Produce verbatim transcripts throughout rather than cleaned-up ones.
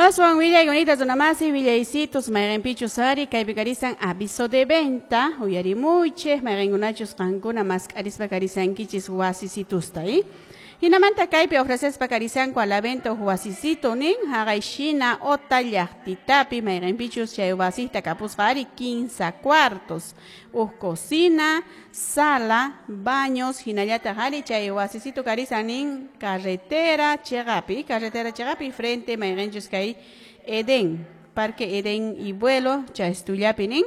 Aswan willay bonita runamasi willaysitos mayqinpichus ari kaypi karisan aviso de venta uyarimuychik mayqinkunachus qankuna mask'arispa karisankichis wasisitusta eh? Hinamanta kaypi ofrecespa karisanku a la venta huk wasisito nin haqay shina ota llaqtitapi mayqinpichus chay wasista kapusqa ari quince cuartos huk cocina, sala, baños hinallataq ari chay wasisito karisan nin carretera chiqapi carretera chiqapi frente mayqinchus kay Edén, Parque Edén y Vuelo chaystullapi nin.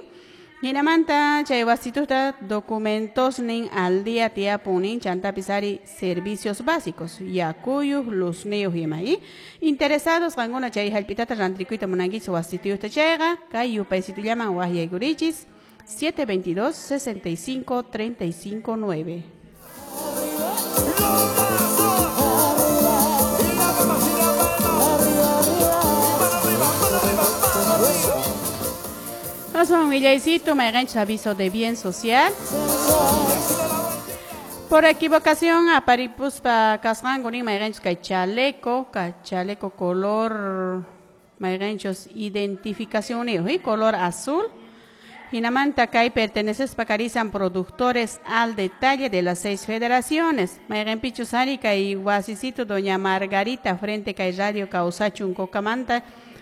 Hinamanta chay wasituta documentos nin al día tiyapun nin chantapis ari servicios básicos yakuyuq luzniyuq ima y interesados qankuna chay hallp'itata rantikuyta munankichis wasitiyuqta chayqa kay yupaysitullaman waqyaykurichis siete veintidós sesenta y cinco treinta y cinco nueve. Aswan willaycito mayqinchus aviso de bien social. Por equivocación aparipuspa kasqanku nin mayqinchus kay chaleco, kay chaleco color mayqinchus identificacionniyuq y color azul. Hinamanta kay pertenecespa karisan productores al detalle de las seis federaciones. Mayqinpichus ari kay wasisito doña Margarita frente kay radio Kawsachun Cocamanta.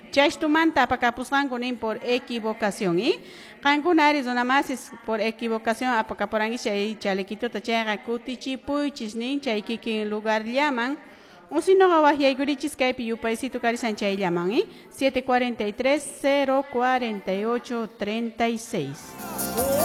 Chaytumanta apakapusqanku nin por equivocación y qankuna ari runamasis por equivocación apakapurankichis chay chalequituta chayqa kutichipuychis nin chay kikin lugar llaman o si no waqyaykurichis kaypi yupaysito karisan chay llaman y siete cuarenta y tres cero cuarenta y ocho treinta y seis.